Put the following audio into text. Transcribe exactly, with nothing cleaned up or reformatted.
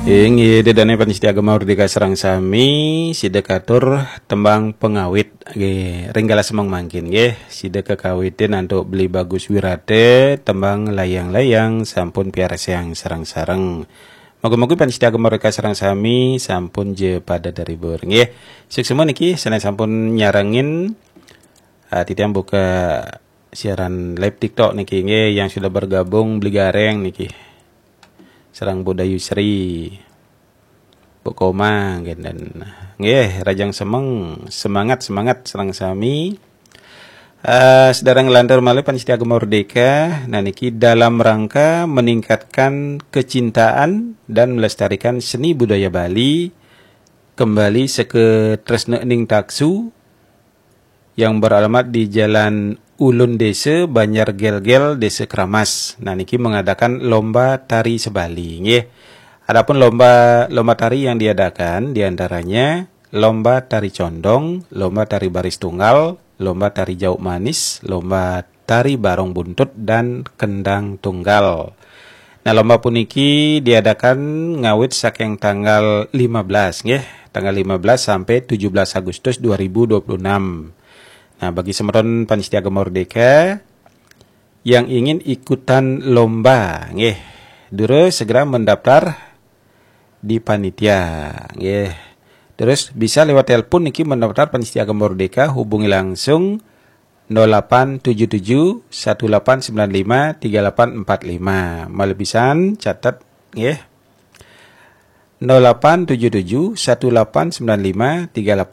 Inggih, ida dané pamiarsa Gema Merdeka sareng sami, sida katur tembang pengawit. Nggih, ring galah semeng mangkin nggih, sida kakawitin antuk Beli Bagus Wirata, tembang Layang-Layang sampun piarsayang sareng-sareng. Moga-moga pamiarsa Gema Merdeka sareng sami sampun ja pada terhibur nggih. Suksma niki sané sampun nyarengin, ah, titiang buka siaran live TikTok niki nggih, yang sudah bergabung Beli Gareng niki. Sareng Bu Dayusri. Bu Koma nggih, dan nggih, rahajeng semeng, semangat, semangat sareng sami. Eh, sedaya nglantur malih pamiarsa Gema Merdeka, nah niki dalam rangka meningkatkan kecintaan dan melestarikan seni budaya Bali, kembali seke tresna ning taksu yang beralamat di Jalan Ulun Desa, Banjar Gelgel, Desa Keramas. Nah, niki mengadakan lomba tari sebali nggih. Adapun lomba lomba tari yang diadakan diantaranya lomba tari condong, lomba tari baris tunggal, lomba tari jauk manis, lomba tari barong buntut, dan kendang tunggal. Nah, lomba puniki diadakan ngawit saking tanggal lima belas nggih, tanggal lima belas sampai tujuh belas Agustus dua ribu dua puluh enam. Nah, bagi semeton pamiarsa Gema Merdeka yang ingin ikutan lomba nggih, durus segera mendaftar di panitia nggih. Terus bisa lewat telepon niki mendaftar pamiarsa Gema Merdeka, hubungi langsung nol delapan tujuh tujuh satu delapan sembilan lima tiga delapan empat lima. Malih pisan catet nggih. Nol delapan tujuh tujuh satu delapan sembilan lima tiga delapan